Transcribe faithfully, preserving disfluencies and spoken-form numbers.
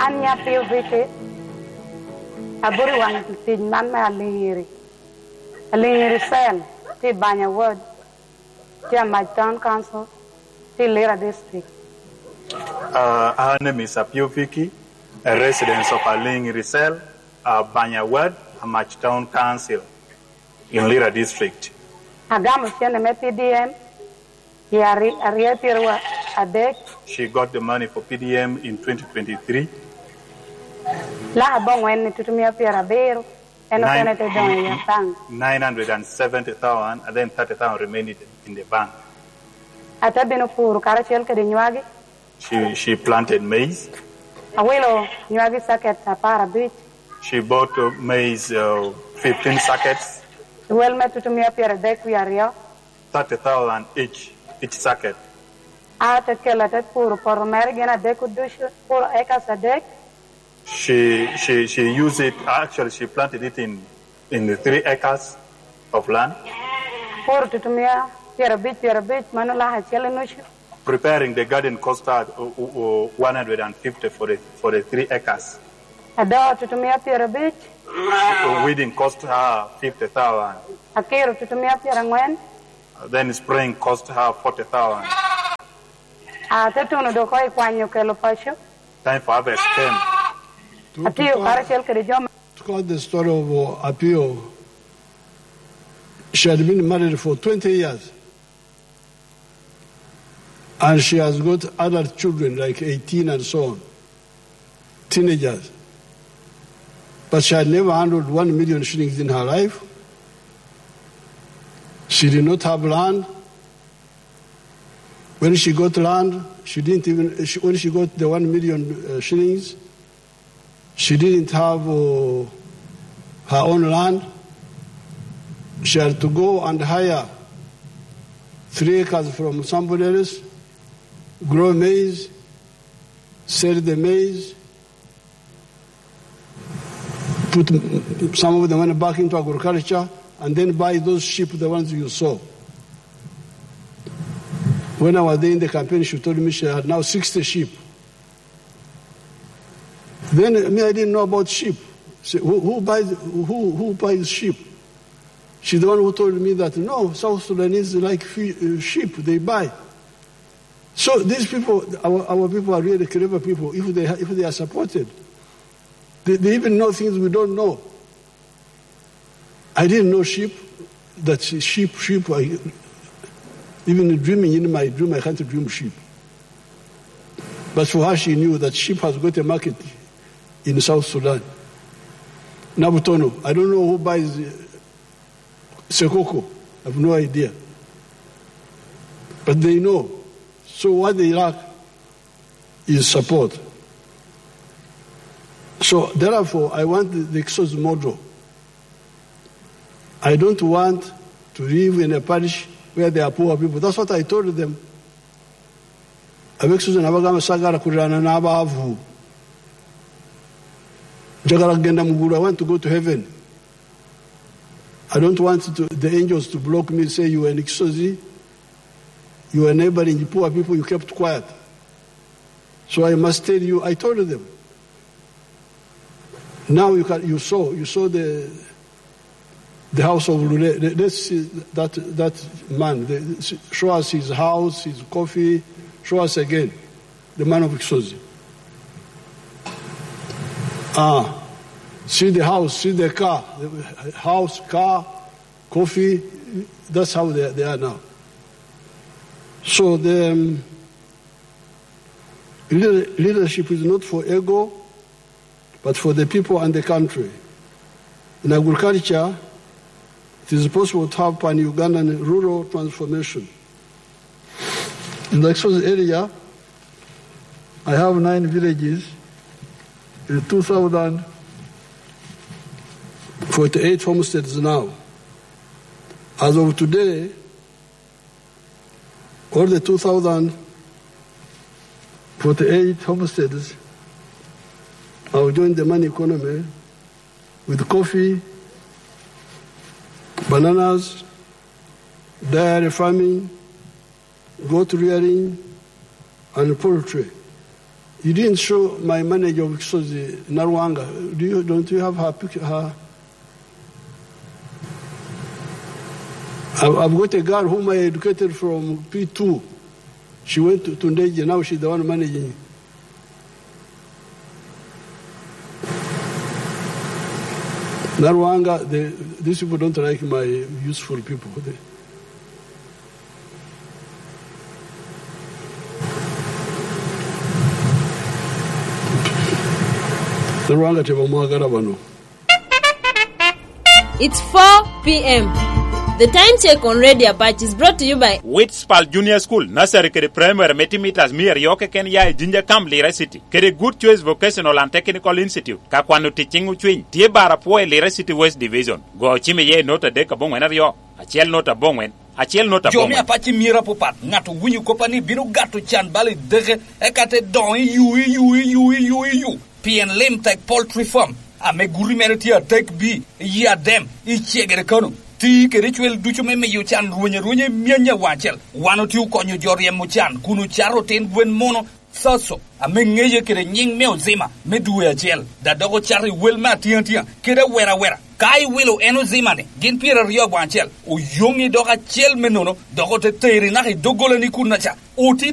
An nya Pio Vicky, abuto i waŋ tic man me Aliŋiri. Aliŋiri Cell, tye i Banya Ward, tye Amac Town Council, tye i Lira District. Uh, her name is Apio Vicky, a resident of Aliŋiri Cell, uh, Banya Ward, Amac Town Council in Lira District. Agamo cene me P D M i ari-, aryo pyero adek. She got the money for P D M in twenty twenty-three. Laka bongwen ni tutumia pyero abiro, en okene te doŋ i bank. Nine hundred and seventy thousand, and then thirty thousand remained in the bank. Ate bino puro karacel kede nywagi. She, she planted maize. Awilo nywagi saket apar abic. She bought, uh, maize, uh, fifteen sackets. Wel me tutumia pyero adek wie aryo. Thirty thousand each, each sacket. Ate kelo, ate puro poto mere gin adek ducu, puro acres adek. She, she, she used it, actually, she planted it in, in the three acres of land. Puro tutumia pyero abic, pyero abic, mano laka acel i nucu. Preparing the garden cost her, uh, uh, uh, one hundred and fifty for the, for the three acres. Adoo tutumia pyero abic. So weeding cost her fifty thousand. Akiro tutumia pyero angwen. Then spraying cost her forty thousand. Ate tuno dok oko i kwanyo kelo paco. Time for harvest came. Atiyo karacel kede jo ma To cut the story of, uh, Apio, she had been married for twenty years. And she has got adult children, like eighteen and so on, teenagers. But she had never handled one million shillings in her life. She did not have land. When she got land, she didn't even, she, when she got the one million, uh, shillings, she didn't have, uh, her own land. She had to go and hire three acres from somebody else, grow maize, sell the maize, put, mm, some of the money back into agriculture, and then buy those sheep, the ones you saw. When I was there in the campaign, she told me she had now sixty sheep. Then me, I didn't know about sheep. Say, who, who buys, who, who buys sheep? She's the one who told me that, no, South Sudanese like fe-, uh, sheep, they buy. So these people, our, our people are really clever people if they ha-, if they are supported. They, they even know things we don't know. I didn't know sheep, that she-, sheep, sheep, I, even dreaming in my dream, I can't dream sheep. But for her, she knew that sheep has got a market in South Sudan. Nabutono, I don't know who buys, uh, Sekoko. I have no idea. But they know. So what they lack is support. So therefore, I want the, the Kisuzu model. I don't want to live in a parish where there are poor people. That's what I told them. Ab'e Kisuzu nabo agamo sagara kurirana n'abaavu. Njagala genda mu ggulu. I want to go to heaven. I don't want to, the angels to block me, say, "You are in Kisuzu, you are neighboring poor people, you kept quiet." So I must tell you, I told them. Now you can, you saw, you saw the, the house of Lule. Let, let's see that, that man. The, show us his house, his coffee. Show us again the man of Kisuzu. Ah, see the house, see the car, the house, car, coffee. That's how they, they are now. So the, um, leader-, leadership is not for ego, but for the people and the country. In agriculture, it is possible to have pan-Ugandan rural transformation. In the Kisuzu area, I have nine villages with two thousand forty-eight homesteads now. As of today, all the two thousand forty-eight homesteads have joined the money economy with coffee, bananas, dairy farming, goat rearing, and poultry. You didn't show my manager of Kisozi, Narwanga. Do you, don't you have her picture? Her? I've, I've got a girl whom I educated from P two. She went to Tundeje. Now she's the one managing. Narwanga, the, these people don't like my useful people. They, Narwanga tebo mwagara bano. It's four p.m. The time check on Radio Apache is brought to you by Witspal Junior School, Nursery kede Primary me timo mitas mia aryo keken ya i Jinja Camp, Lira City, kede Good Choice Vocational and Technical Institute. Ka kwano tic ciŋ ocwiny, tye bar apwo i Lira City West Division. Go ocim iye i nota adek aboŋwen aryo, acel nota aboŋwen, acel nota aboŋwen. Jo me Apache myero apapat, ŋat owinyo koppa ni bino gato can bal i deke, eka te doŋ i yu, i yu, i yu, i yu, i yu. Pien lim tek poultry farm, ame guti mere tye atek bi, i Adem, i Cegere Kano. Ti kede cwel ducu me miyo can rweny arwenya i myanya waŋ acel. Wan otye okonyo jo ryemo can, kun ocato otin gwen mono, Thaso, ame ŋeye kede nyiŋ me Ozima, me dwe acel. Da dok ocato i wel me atiŋ atiŋa, kede awera awera. Ka iwilo en Ozima-ni, gin pyeraryo waŋ acel, oyoŋi dok acel me nono, dok ote teri naka i doggola ni kun aca. Oti